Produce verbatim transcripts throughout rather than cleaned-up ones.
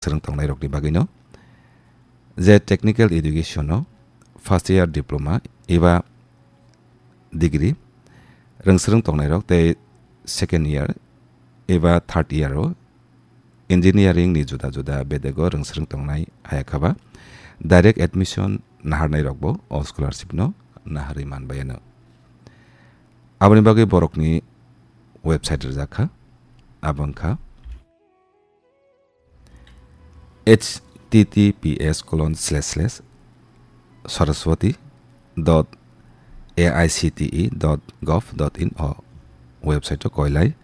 swrwng tongnairokni bagwino, je technical education-o first year diploma eba degree rwng swrwng tongnairok tei second year eba third year-o engineering ni juda juda bedego rwng swrwng tongnai, hayakhe ba direct admission naharnairokbo o scholarship no naharwi manbai ano. Aboni bagwi borokni website rijak kha, abo wngkha H T T P S colon slash slash saraswati dot A I C T E dot gov dot in o website o koilai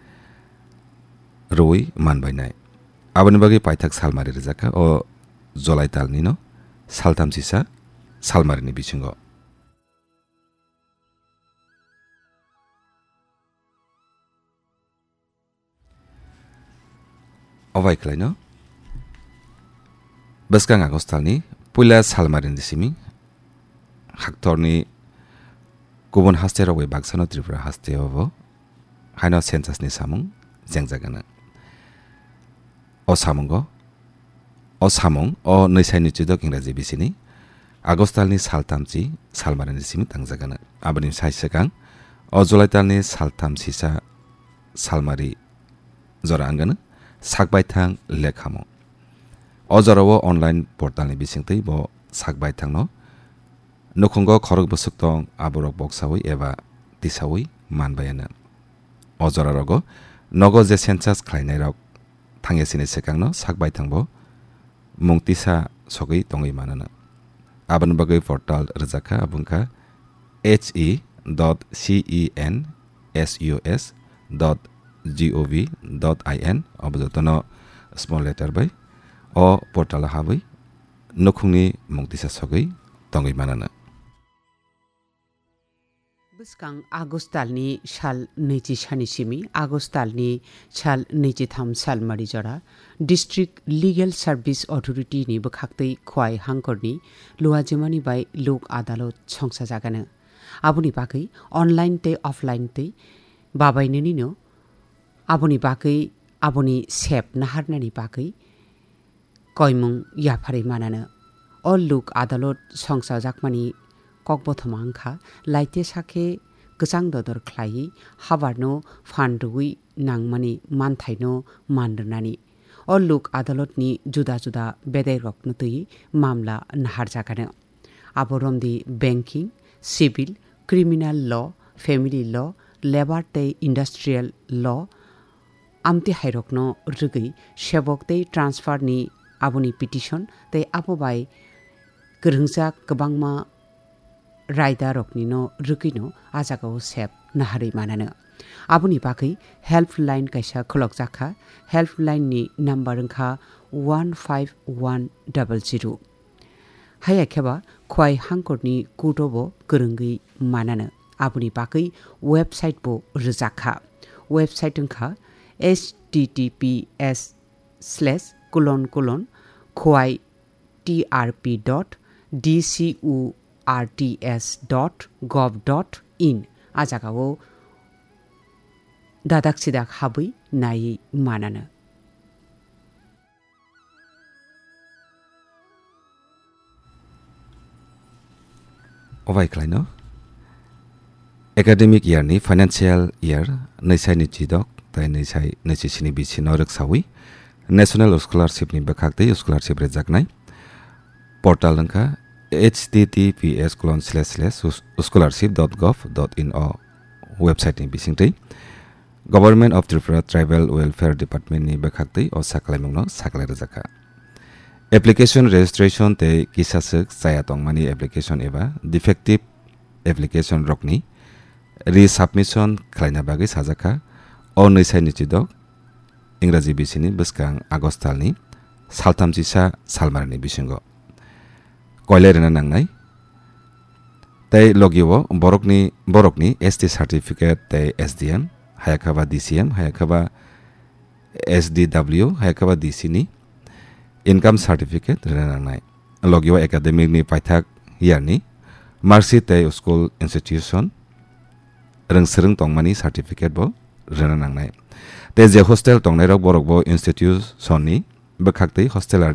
rwi manbainai. Aboni bagwi paithak salmari rijak kha o July talni no saltham sisa salmarini bisingo. Obai khlaino bwskang August talni puila salmarini simi haktorni kubun haste rok bai baksano Tripura haste o bo haino census ni samung jengjagana. O samungo, o samung o nwisaini chidok Ingraji bisini August talni saltamchi salmarini simi tangjagana. Aboni sai swkang o July talni saltam sisa salmari jora wngano sakbaithang lekhamo. O jorao online portalni bisingtwi bo sakbaithangno nukhungo khorok bwswk tong aborok boksawi eba tisawi manbayano. O jorarogo nogo je census khlainairok thangya sini swkangno sakbaithangbo mung tisa sogwi tongwi manano. Aboni bagwi portal rwjakha, abo wngkha H E dot C E N S U S dot G O V dot I N, obo jotono small letter bai o portal o habwi nukhungni mung tisa sogwi tongwi manano. Bwskang August talni sal nwichi sani simi August talni sal nwichitham salmari jora District Legal Service Authority ni bwkhaktwi Khwai Hangkorni Luajimani bai Lok Adalot songsajagano. Aboni bagwi online tei offline tei babainanino aboni bagwi aboni sep naharnani bagwi koimung yapharwi manano. O Lok Adalot songchajakmani kokbothoma wngkha laite sakhe kwchang dodor khlaiwi habarno phan rwui nangmani manthaino man rwnani. O Lok Adalotni juda juda bedairokno twi mamla naharjagano. Abo romdi banking, civil, criminal law, family law, labour tei industrial law, amtwi hairokno rwgwi sebok tei transfer ni aboni petition tei abo bai kwrwngjak kwbangma raidaroknino rwgwino a jagao sep naharwi manano. Aboni bagwi helpline kaisa khulokjakha, helpline ni number wngkha one five one double zero. Haiya kheba Khwai Hangkorni kuto bo kwrwngwi manano. Aboni bagwi website bo rwjakha. Website wngkha H T T P S slash colon colon khwai T R P dot D C U R T S dot gov dot in. A jagao dadak sidak habwi naiwi manano. Obai khlaino academic year ni financial year nwisai nwichidok tai nwisai nwichisi ni bisino rwksawi National Scholarship ni bwkhak tei scholarship rwjaknai portal wngkha H T T P S colon slash slash scholarship dot gov dot in o website ni bisingtwi Government of Tripura Tribal Welfare Department ni bwkhaktwi o sakhlaimungno sakhlai rwjakha. Application registration tei kisaswk chaya tongmani application eba defective application rokni resubmission khlaina bagwi sajakha o nwisai nwichidok Ingraji bisini bwskang August talni saltham chisa salmarini bisingo koilai rwna nangnai. Tei logio borokni, borokni S T certificate tei S D M, hayakhe ba D C M, hayakhe ba S D W, hayakhe ba D C ni income certificate rwna nangnai. Logio academic ni paithak year ni marksheet tei school institution rwng swrwng tongmani certificate bo rwna nangnai. Tei je hostel tongnairok borok bo institution ni bwkhaktwi hosteler